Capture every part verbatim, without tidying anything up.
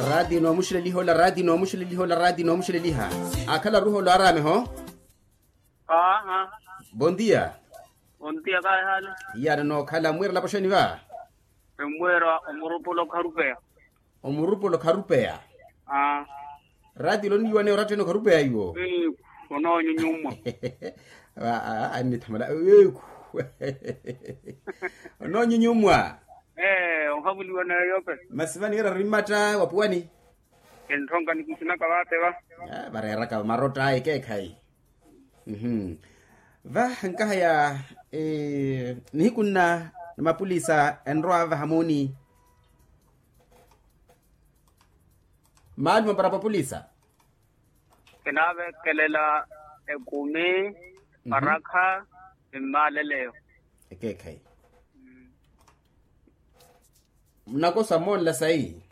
Raati noomuxuleliha ola raati noomuxuleliha ola raati noomuxuleliha. Akhala ruha ola arameho. Aha. Bondia. Bondia kaehale. Iyana nookhala mwira lapoxeni va. Emwira omurupula okharupeya. Omurupula okharupeya. Raati oloniyiwaneya oratteni okharupeya iwo. Onoonyunyumwa. Annithamala. Onoonyunyumwa. Ee ohavuliwa nayo yope. Masi vaniira rimmatta wa puwani. Kintthonka nikisinaka vaate va. Vareeraka marotta ekeekhayi. Va nkahaya nihiku nna na mapulisa enrowa vahamuni. Maaluma para papulisa. Kinaavekelela ekumi parakha ni mmaaleleyo. Ekeekhayi. Munakosa mmoonla sayi.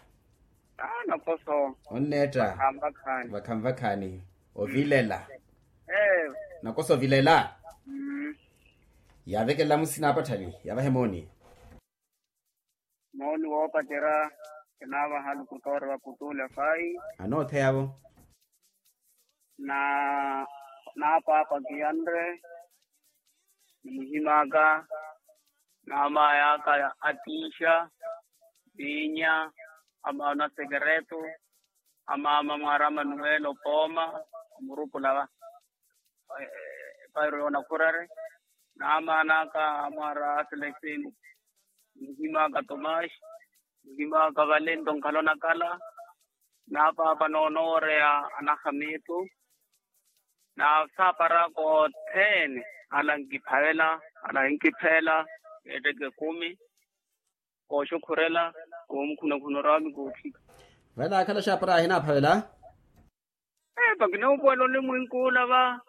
Nakoso. Onneetta. Vakhanvakhaani. Vakhanvakhaani. Ovilela. Nakoso ovilela. Yaavekelela musi naapatthani yavahe mooni. Mooni woopacerya kinaavaha alukutoori vaputuule fayi. Anootheyavo. Na naapaapa kiyanre. Nimuhim'aka n'amaya aka atiixa, viinya, amaana sekereto, amaama mwaari amanuwelo pooma. Murupula va pairo yoonakhurari n'amaana aka amwaari aselesini. Muhim'aka tomaxi, muhim'aka valento nkhala onakhala. N'apaapa noonooreya anahamitu. Na saapar'aka othene ala nkiphavela, ala hinkipheela, etteke ekumi. Kooxukhurela, koomukhunakhuna oraami koothika. Vale akhala xaapara ahinaphavela. Epa kinoopuwela onimwinkula va.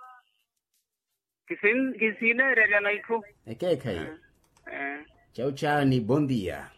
Kisineereryana itthu. Ekeekhayi. Caucaani bondia.